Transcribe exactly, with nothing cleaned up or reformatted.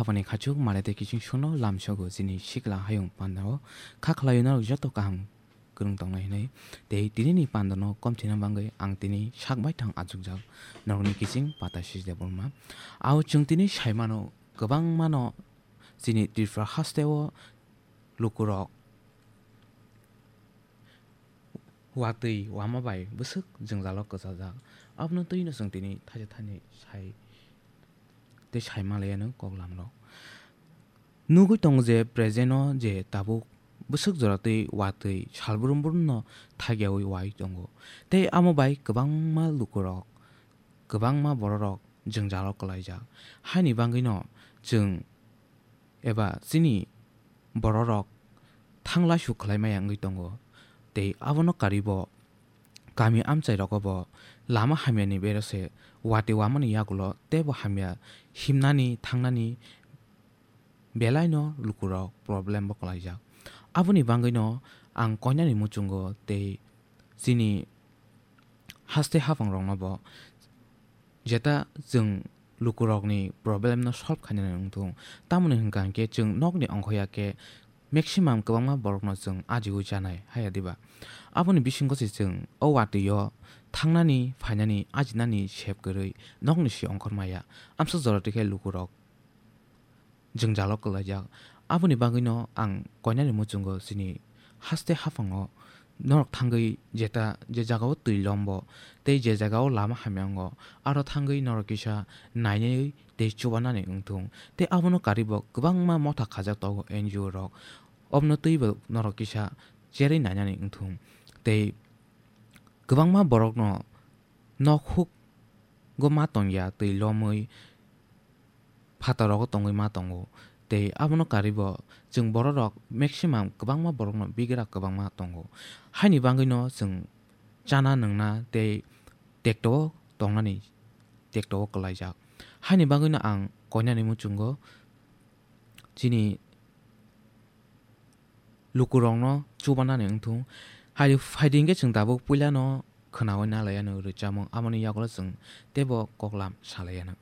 Aphani khachuk male tei kiching sono lamsogo chini sikla hayung pandao kha khlaio norok joto kaham kwrwng tongnai hinwi. Tei tinini pandano komthina bagwi ang tini sak baithang achukjak norokni kiching Pata Sijde Burma. Ao chwng tini saimano kwbangmano chini Tripura hasteo lukurok watwi wama bai bwswk jwngjalo kwchajak. Abono twino chwng tini thaisa thani sai tei sai manlaiya no koklamrok. Nugwi tongo je present o je tabuk bwswk jora twi watwi salbrum brum no thagyaui wai tongo. Tei amo bai kwbangma lukurok, kwbangma bororok jwngjalo kwlaijak. Haini bagwino chwng eba chini bororok thanglaisu khlai maya wngwi tongo. Tei abono karibo kami amchai rogo bo lama hamyani berose watwi wamani yagulo teibo hamya himnani thangnani belaino lukurok problem bo kwlaijak. Aboni bagwino ang koinani muchungo tei chini haste haphangrokno bo jeta chwng lukurokni problem no solve khainani wngthung. Tamoni hwnkha hwnkhe chwng nokni ongkhoya khe maximum kwbangma borokno chwng ajiui chanai haya diba? Aboni bisingo se chwng o watwi o thangnani, phainani, ajinani sep kwrwi nokni si ongkhor maya. Amsa jora twi khe lukurok jwngjalo kwlaijak. Aboni bagwino ang koinani muchungo chini haste haphango norok thangwi jeta je jagao twi lombo tei je jagao lama hamya wngo, aro thangwi norok kisa nainwi tei chubanani wngthung. Tei abono karibo kwbangma motha khajak tongo N G O rok. Obno twibo norok kisa cherwi nainani wngthung. Tei kwbangma borokno nok huk go ma tongya twi lomwi phataro tongwi ma tongo. Tei abono karibo chwng bororok maximum kwbangma borokno bigra kwbangma tongo. Haini bagwino chwng chana nwngna tei tekto tongnani tekto kwlaijak. Haini bagwino ang koinani muchungo chini lukurokno chubanani wngthung. Hai phaidi hwnkhe chwng tabuk puilano khwnaui nalaiya no rwchapmung, aboni yagulo chwng teibo koklam salaiya no.